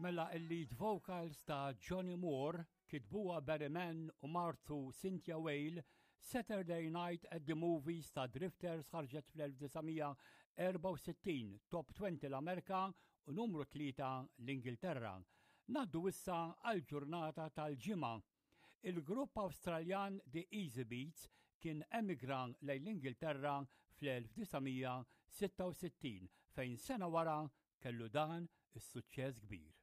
Mela il-lead vocals ta' Johnny Moore kitbuha Barry Mann u martu Cynthia Whale, Saturday Night at the Movies ta' Drifters ħarġet fl-1964, top 20 l-Amerika u numru 3 l-Ingilterra. Naddu issa għal ġurnata tal-ġimgħa. Il-grupp Awstraljan The Easy Beats kien emigra lejn l-Ingilterra fl-1966 fejn sena wara kellu dan is-suċċess kbir.